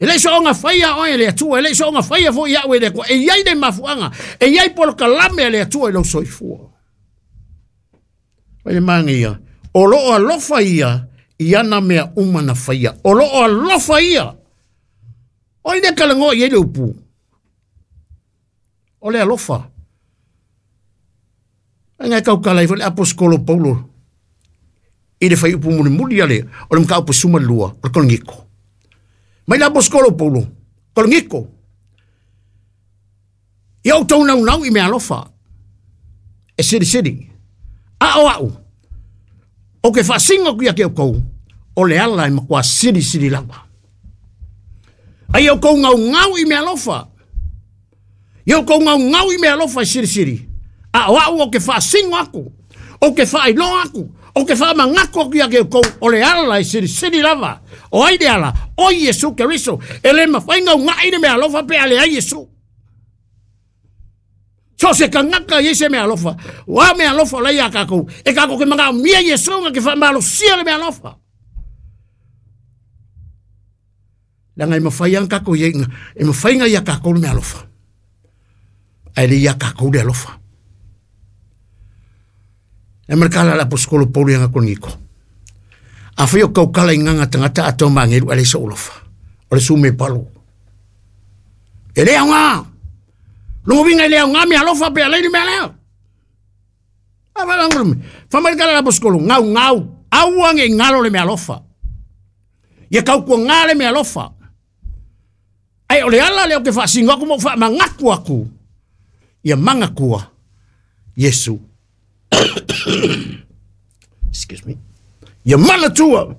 E le soonga faia oe e le Atua, e le soonga faia foi ia'u e le Atua. E i ai le mafuaaga, e i ai polokalame a le Atua i lou soifua. Mai le manaia, o loo alofa ia i ana mea uma na faia. O loo alofa ia. O ai lea talanoa i ai le upu? O le alofa. Ai ngai tautala ai foi le aposetolo Paulo i le fuaiupu mulimuli a le o le mataupu 12 o le Korinito. Mai le aposetolo Paulo, Korinito, ia outou naunau i mea alofa, e silisili. A o au, ou te faasino atu ia te outou, o le ala e matua silisili lava. A ia outou naunau i mea alofa, ia outou naunau i mea alofa e silisili, a o au ou te faasino atu, ou te faailoa atu, ou te faamanatu atu ia te outou, o le ala e silisili lava. O ai le ala? O Iesu Keriso. E le mafai ona uunai le mea alofa pe a leai Iesu. So o se tagata e i ai se meaalofa, o a meaalofa o la e ia tatou, e tatou te manaomia Iesu na te faamalosia le meaalofa. Leaga e mafai lava ona tatou i ai, e mafai ona ia tatou le meaalofa, ae le ia tatou le alofa. E ma le tala a le aposetolo Paulo ia Korinito. Afai o tautala i gaga tagata atoa ma agelu ae leai sou alofa, o le sume palo. E le aoga. Lona uiga e le aoga meaalofa pe a leai le mea lea. Fai mai le tala a le aposetolo, gaugau, aua ne i galo le meaalofa. Ia tautuana le meaalofa. Ae o le ala lea ou te faasino atu ma ou faamanatu atu, ia manatua Iesu. Excuse me. Ia manatua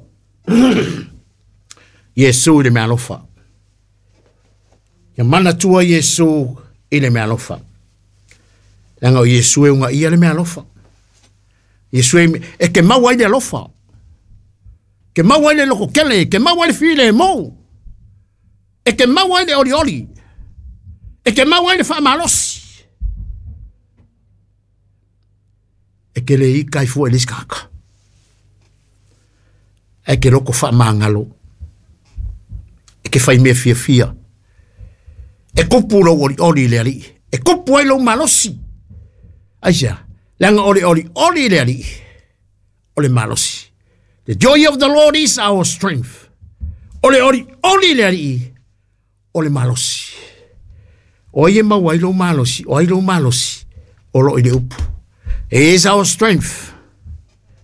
Iesu i le meaalofa. Ia manatua Iesu i le meaalofa. Leaga o Iesu e ugaia le meaalofa. Iesu e, e te maua ai le alofa. Ke maua ai le loko kele, ke maua ai le filemu. E te maua ai le olioli. E te maua ai le faamalosi. E te le ika ai fua i le isi tagata. Ae ke loko faamagalo. E te fai mea fiafia. E kupu lou olioli i le Alii. E kupu ai lou malosi. Aisea? Leaga o le olioli i le Alii o le malosi. The joy of the Lord is our strength. O le olioli i le Alii o le malosi. O ai e maua ai lou malosi, o ai lou malosi, o loo i le upu. He is our strength.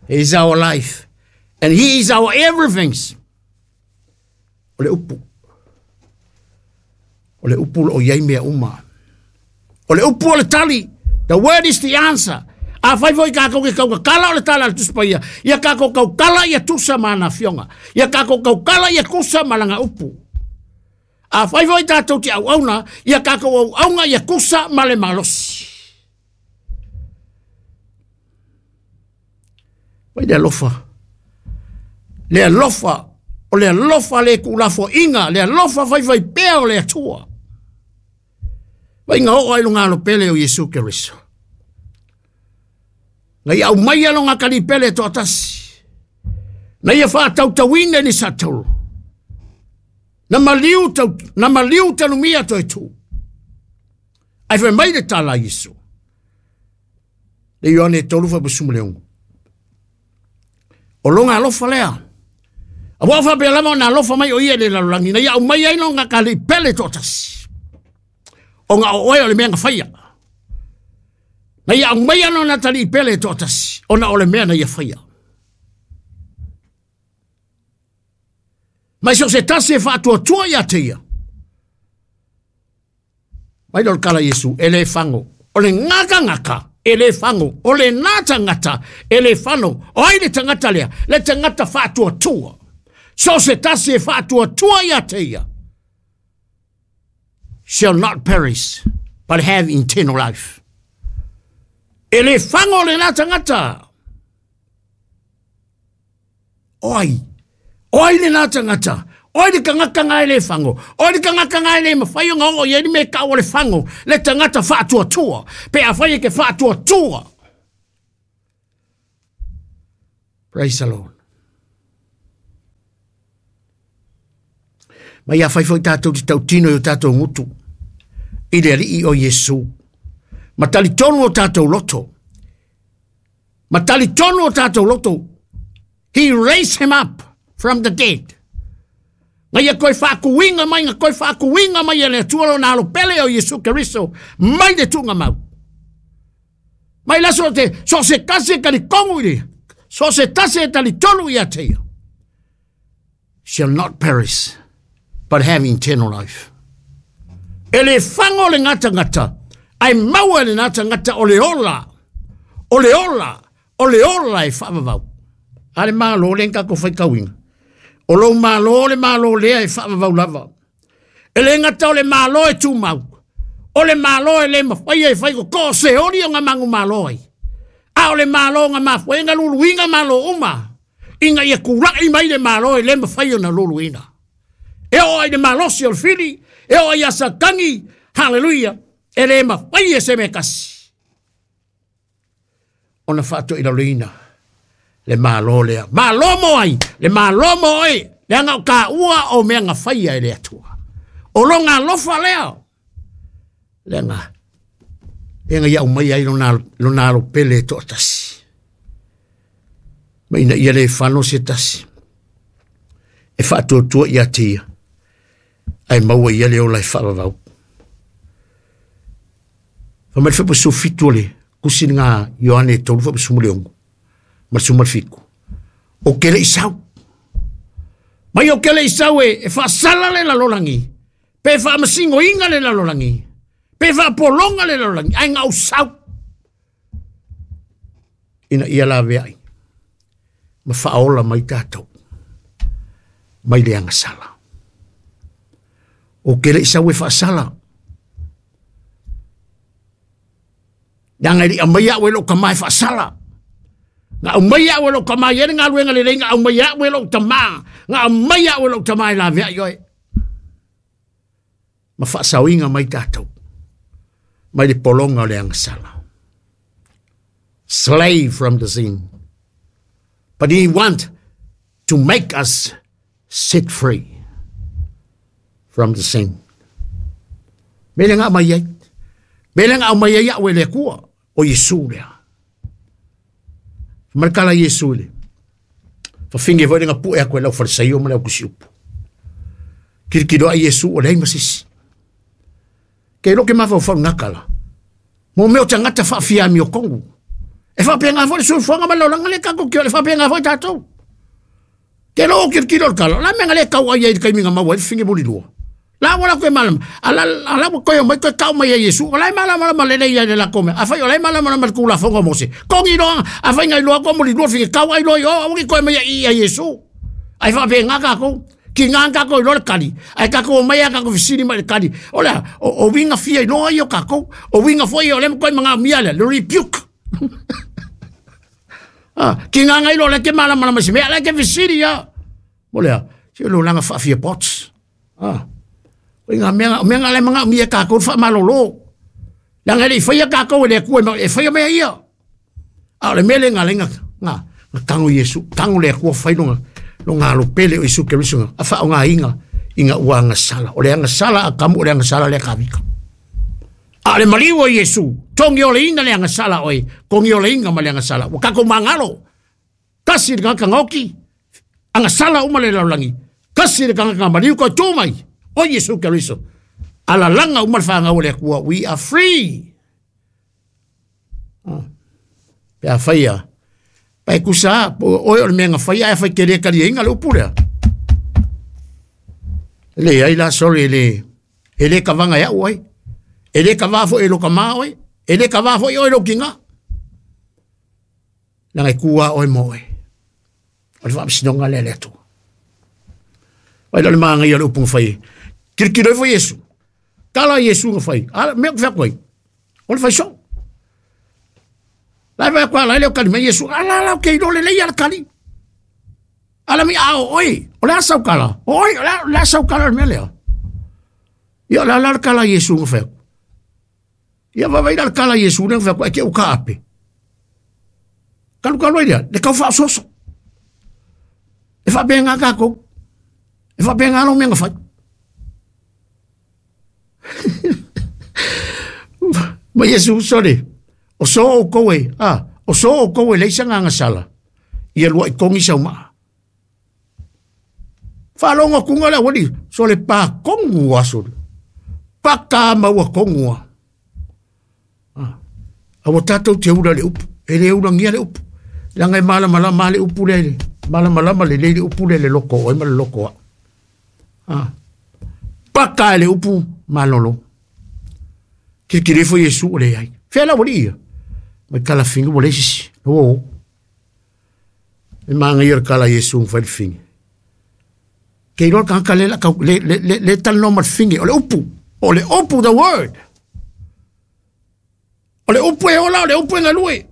He is our life. And he is our everything. O le upu. O le upu o loo i ai mea uma. O le upu o le tali. The word is the answer. Afai foi tatou te tautatala o le tala a le Tusi Paia, ia tatou tautala ia tusa ma ana afioga. Ia tatou tautala ia tusa ma lana upu. Afai foi tatou te auauna, ia tatou auauna ia tusa ma le malosi. Vai le alofa. Le alofa, o le alofa le tuulafoaiga, le alofa faifaipea o le Atua. Vai nga oo ai luga alo pele o Iesu Keriso. Na ia aumaia lona kalipele e toatasi. Na ia faatautauina i ni satolo. Na maliu, tau, na maliu talumia toe tu. Ae fai mai le tala a Iesu. Le Ioane 3:16. O lona alofa lea. Aua o faapea lava ona alofa mai o ia i le lalolagi, na ia aumai ai lona kalipele toatasi. Ona o oe o le mea na faia. Na ia aumaia lona talii pele toatasi, ona o le mea na ia faia. Mai so se tasi e faatuatua ia te ia. Mai lea o le tala a Iesu, e le fago. O le gagagata, e le fago. O le na tagata, e le fano. O ai le tagata lea? Le tagata faatuatua. So se tasi e faatuatua ia te ia. Shall not perish, but have eternal life. E le fago le na tagata. O ai? O ai lena tagata? O ai le tagata nga e le fago? O ai le tagata nga e le mafai ona oo i ai le mea e tau o le fago? Le tagata faatuatua. Pe afai e te faatuatua. Praise the Lord. Ma ia fai foi tātou te tautino i o tātou ngutu. I le alii o Iesu. Ma talitonu o tātou loto. Ma talitonu o tātou loto. He raised him up from the dead. Nga ia koe whaakuinga mai, nga koe whaakuinga mai e le Atua lona alo pele o Iesu Keriso, mai le tunga mau. Mai la so te, so se tasi e talikongu i le, so se tasi e talitonu ia te ia. Shall not perish, but have eternal life. E le whango le ngata ngata, ai maua le ngata ngata o le ola, o le ola, o le ola e whaavavau. Ale malo le ngako whai kauinga. O lo malo le malo lea e whaavavau lava. E le ngata o le malo e tūmau. O le malo e le mawhai e whai ko ko se ori o ngā mangu malo ai. A o le malo ngā mawhai ngā luluinga malo uma. Inga ia kurai mai le malo e le mawhai o na luluina. E o ai le malosi o le fili, e o ai asatangi, hallelujah, e le mawhai e se me kasi. Ona whaato i laloina, le malo lea. Malo mo ai, le malo mo ai, le anga o ka ua o mea ngā whaia e le atua. O lo ngā lofa lea. Le anga, e nga iau mai ai lona alo pele e to'atasi. Ma ina ia le whano se tasi. E whaatuatua ia te ia. Ai maua ia le ola e whaavavau. Whamai whapu sufitu ole, kusi ngā Ioane e tolu whapu sumule ongo. Ma sumal fiku. O kele isau. Mai o kele isau e whaasala le lalolangi. Pe whaamasingo inga le lalolangi. Pe whaapolonga le lalolangi. Ai ngau sau. Ina ia la veai. Ma whaola mai tātou. Mai le angasala. O kele isau e whaasala. Nanga li amai au e lo ka mai whaasala. Nga amai au e lo ka mai ere ngā luenga le nga amai au e lo tama. Nga amai au e lo tama e la vea ioe. Ma whaasauinga mai tātou. Mai le polonga o le angasala. Slave from the sin. But he want to make us set free from the sin. Mele ngā mai ai. Mele ngā mai ai au e le kua o Yesu lea. Markala Yesu le. Whawhinge voi ngā pue ako e lau wharisaio ma lau kusiupu. Kirikiro a Yesu o lei masisi. Ke roke mawhau whau ngakala. Mō meo te ngata whaafia mi o kongu. E whapea ngā whare suifuanga ma laulanga le kako ki o le whapea ngā whare tātou. Ke loo kirikiro le kala. La menga le kau ai ai kai minga maua e whinge mori lua. La wala koe malama. Ala koe o mai koe kau mai a Yesu. O lai malama ma lele ia le la kome. A whai o lai malama ma le kula whonga mose. Kongi loa, a whai ngai loa ko mori lua whinge kau ai loa i o awangi koe mai a i a Yesu. Ai whapea ngā kako. Ki ngā kako i loa le kari. Ai kako o mai a kako fisiri mai le kari. O lea, o winga fia i loa i o kako. O winga fua i o lema koe mga mia lea. Le rebuke. Ki ngā ngai loa le ke malama ma si mea le ke fisiri ia. O lea, si o langa whaafia pots. O ngā mea ngā le mga mia kako wha malolo. Langa le whaia kako e le kua e whaia mea ia. A o le mele ngā lenga ngā tango Yesu, tango le kua whai longa. Lo ngā lo pele o Yesu Keriso ngā. A wha o ngā inga, inga ua ngā sala. O le ngā sala a kamu o le ngā sala le kawika. A le maliu o Yesu, tongi o le inga le ngā sala oe, kongi o le inga ma le ngā sala. O kako mangalo, kasi le ngā ngoki, a ngā sala uma le laulangi, kasi le ngā maliu koe tō mai. O Yesu Keriso. Ala langa uma le whangau le kua, we are free. Pea whaia. Pai kusa, oe o le mea ngā whaia, e whai kere kari inga le upurea. Le ai la, sorry, e le kawanga ia oe. E le kawa fo e lo kama oe. E le kawa fo i oe lo kinga. Nanga i kua oe mo oe. O le whaamisinonga le le atua. Wai le maanga ia le upunga whai. Kirikiro e fo Yesu. Tala Yesu nga whai. Ala, mea kuwhea koe. O le whai so. Lai whai koe ala le o kali mai Yesu. Ala ala o kei lole lei ala kali. Ala mi ao oi. O le asau kala. Oi, o le asau kala le mea lea. Ia o le ala kala Yesu nga whai. Ia wawai la kala Yesu nga whai koe. E ke uka ape. Kalu kalu ai lea. Le kau wha soso. E whapea ngā kako. E whapea ngā no mea ngā whai. Ma Iesu sole, o so o koe, a, o so o koe leisa nganga sala, ia lua i kongi sau maa. Whalonga kunga le wali, so le pā kongu a sole. Paka maua kongu a. Awa tātou te ura le upu, e le ura ngia le upu. Langa e malamalama le upu le, malamalama le le upu le le loko, oi ma le loko a. Paka le upu malolo. Kilikili fo Iesu o le ai. Fea la wali ia. Mai kala finga wale sisi. O. E maanga ia kala Iesu ng whai finga. Ke iloa ka le le le le talanoa ma le finge o le upu. O le upu, the word. O le upu e ola, o le upu e galue.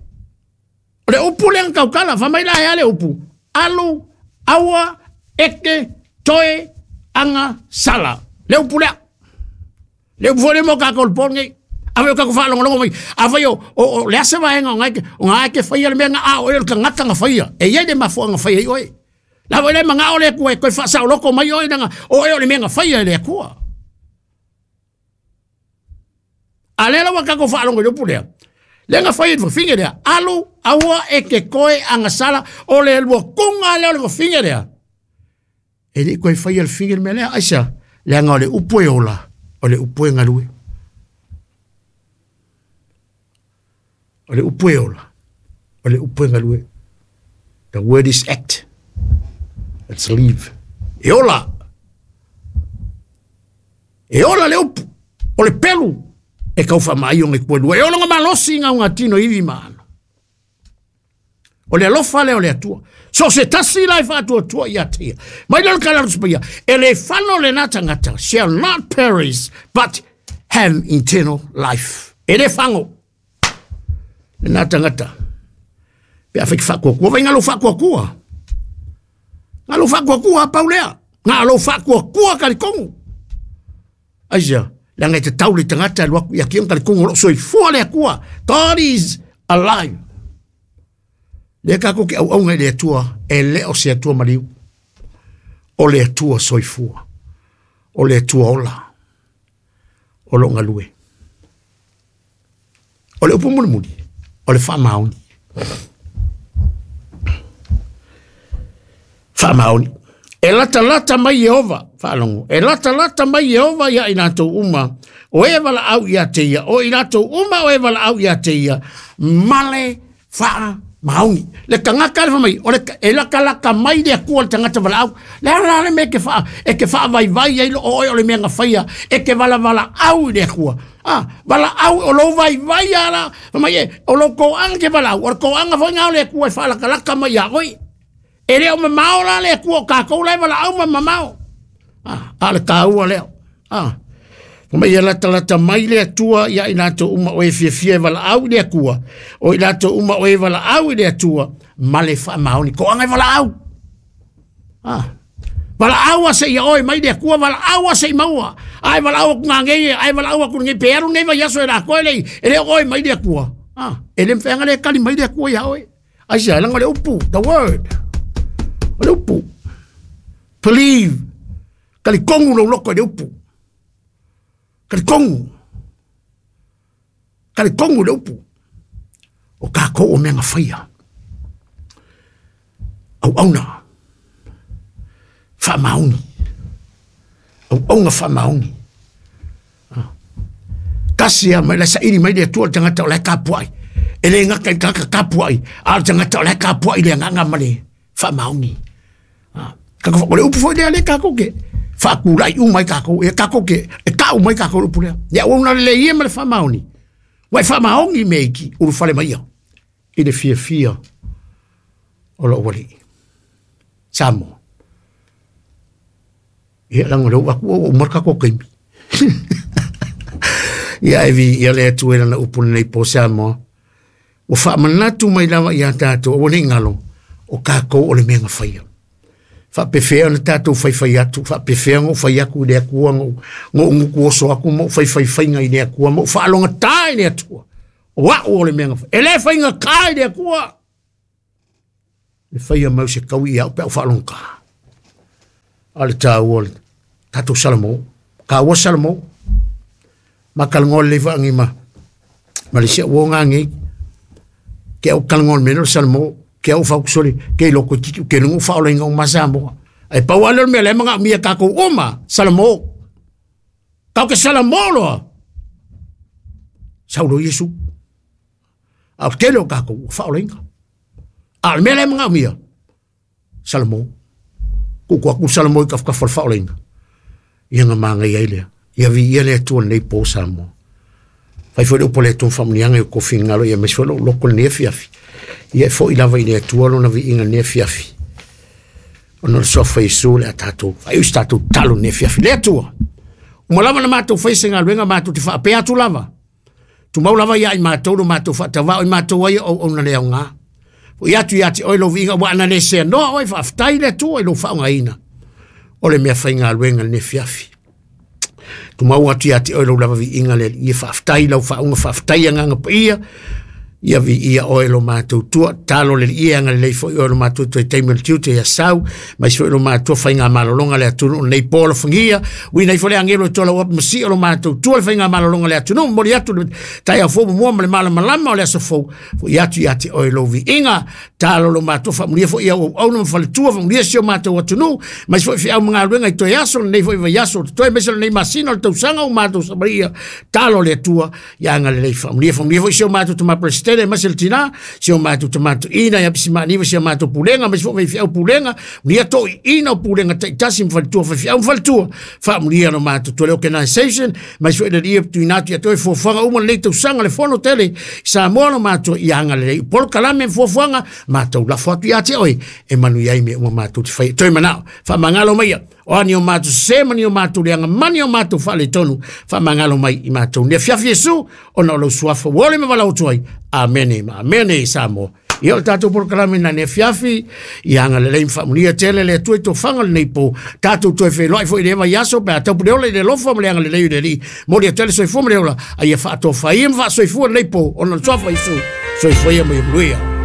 O le upu le ang kaukala, fa mai la hea le upu. Alu, aua, eke, toe, anga, sala. Le upu lea. Le upu fo le mo ka kol pol ngai. A o ka whaalongolongo mai. A vai o le asa vaenga o ngai o ngai ke whaia le mea nga a o e le tangata nga whaia. E iai le mafua nga whaia i oe. La vai le manga o le kua e koe whaasao loko mai oe nanga o e o le mea nga whaia e le akua. A le lawa kako whaalongo i upu lea. Le nga whaia i whafinge lea. Alu, aua e ke koe anga sala o le lua kunga lea o le whafinge lea. E le koe whaia le finge le mea lea. Aisa, le anga o le upu e ola, o le upu e ngalue. O le upu e ola, o le upu e ngalue. The word is act. Let's leave. E ola. E ola le upu. O le pelu. E kau wha mai o ngai kua lua. E ola ngā malosi ngā ngā tino iwi maano. O le alofa le o le atua. So se tasi lai whaatua tua i atia. Mai lalo kala ruspia. E le whano le nata ngata shall not perish, but have eternal life. E le whango. Le nata ngata. Pe a whaiki whakua kua. Vai ngalo whakua kua. Ngalo whakua kua pau lea. Ngalo whakua kua karikongu. Aisia. Langa te taule tangata luaku ia ki karikongu lo soifua le akua. God is alive. Le kako ke au au le atua e le o se atua maliu. O le atua soifua. O le atua ola. O lo ngalue. O le upu mulimuli. O le whaamaoni. Whaamaoni. E lata lata mai Yehova, whaalongo. E lata lata mai Yehova ia i latou uma. O e wala au ia te ia. O i latou uma o e wala au ia te ia. Male whaamaoni. Le tangata le whamai. O le e laka laka mai le akua le tangata wala au. Le ala le me ke wha, e ke wha vai vai ai lo oe o le mea ngawhaia. E ke wala wala au i le akua. Ah, wala au o lo vai vai ala. Whamai e, o lo koanga ke wala au. O le koanga whai ngao le akua e wha laka laka mai a oi. E leo mamao la le akua o kākou lai wala au ma mamao. Ah, a le kāua leo. Ah. Mai ia lata lata mai le atua ia i latou uma o e fiafia e wala au i le akua. O i latou uma o e wala au i le atua. Male whaamaoni. Ko anga e wala au. Ah. Wala au a se ia oe mai le akua, wala au a se i maua. Ai wala au aku ngā ngei, ai wala au aku ngei, pe aru nei vai aso e rā koe lei, e le oe mai le akua. Ah. E le mwhenga le kali mai le akua ia oe. Ai se, langa le upu, the word. O le upu. Believe. Kali kongu lo loko e le upu. Kali kongu. Kali kongu le upu. O kākou o mea ngawhaia. Au auna. Whaamaoni. Au aunga whaamaoni. Kasi a mai la sairi mai le atua le tangata o lai kapuai. E le ngaka i kaka kapuai. A le tangata o lai kapuai le nganga ma le whaamaoni. Kako o le upu foi lea le kākou ke. Whaakulai u mai kākou. E kākou ke. E kau mai kākou le upu lea. Ia ua le ia ma le whaamaoni. Wai whaamaoni me iki uru whale mai ia. I le fia fia o lo wali. Samoa. Ia langa le aku o marka ko kaimi. Ia evi ia le atu e lana upu nei po Samoa. O whaamanatu mai lava ia tātou o ne ngalo o kākou o le mea ngawhaia. Whaapewhea na tātou whaiwhai atu, whaapewhea ngō whai aku i le akua, ngō nguku oso aku, mō whaiwhai whainga i le akua, mō whaalonga tā i le atua. O au o le mea ngawhaia. E le whainga kā i le akua. Le whaia mau se kaui i au pe au whaalonga kā. A le tāua, tātou Salamo, kāua Salamo. Makalgoa lelei faagi ma ma le isi au uo gagei. Ke au kalagoa i le mea lea o le Salamo, ke au faukusoli, ke iloa toeitiiti ou te iloaina ua faaolaina uma lava Samoa. Ae pau lava lea o le mea o la e manaomia e tatou uma, Salamo. Tatou te Salamo loa, sau loa Iesu. A o le tele o tatou ua faaolaina. A o le mea la e manaomia, Salamo. Tuutuu atu le Salamo i tafatafa o le faaolaina, ia ona manaia ai lea. Ia viia le Atua i lenei po Samoa. Fai foi le upu a le Atua ma faamanuiaga i outou finagalo, ia aemaise foi lou loto i lenei afiafi. Ia e foi lava i le Atua lona viiga i lenei afiafi. Ona o le suafa o Iesu o le a tatou faaiu se tatou tatalo i lenei afiafi. Le Atua, uma lava ona matou faia se galuega, matou te faapea atu lava, tumau lava ia i matou lo matou faatauvaa, o i matou ai o auauna le aoga. Foi atu ia te oe lou viiga, ua ana le seanoa oe, faafetai le Atua i lou faaaogaina o le mea faigaluega i lenei afiafi. Tumau atu ia te oe lou lava viiga le Alii, faafetai lau faauga, faafetai agaga paia, ia viia oe lo matou tua, talo le Alii e agalelei foi oe lo matou toe taimi o le tiute ia sau, mai foi lo matou faiga malologa le atunuu nei po alofagia, uina ifo le agelo e tola uapi ma sio lo matou tua le faiga malologa le atunuu, momoli atu le taeao fou mua ma le malamalama o le aso fou, foi atu ia te oe lou viiga, talo lo matou faamulia foi au auauna ma faletua, faamulia si o matou atunuu, mai foi feau ma galuega i toe aso, lenei foi vaiaso, toe aemaise o lenei masina o le tausaga o matou samaria, talo le Atua, ia agalelei faamulia, faamulia foi si o matou tama Presidente, aemaise le tina, si o matou tama toeaina ia Pisimaaniva, si o matou pulega, aemaise foi faifeau pulega, mulia toeaiina o pulega taitasi ma faletua, faifeau ma faletua, faamulia lo matou tua le organization, aemaise foi le Alii e tuuina atu ia te oe fuafuaga uma lenei tausaga le fono tele i Samoa lo matou ia agalelei polokalame ma fuafuaga matou lafo atu ia te oe e manuia ai mea uma matou te faia. Toe manao, faamagalo mai ia, o a ni o matou sese ma ni o matou leaga ma ni o matou faaletonu, faamagalo mai i matou. Nei afiafi Iesu, ona o lou suafa ua ole ma valaau atu ai. Amene ma amene Samoa. Ia o le tatou polokalame na nei afiafi, ia agalelei ma faamulia tele le Atua i tofaga o lenei po. Tatou toe feiloai foi i le vaiaso pe a taupule ola i le alofa ma le agalelei o le Alii. Momoli atu ai le soifua ma le ola, a ia faatofaia ma faasoifua lenei po, ona o le suafa o Iesu. Soifua ia ma ia manuia.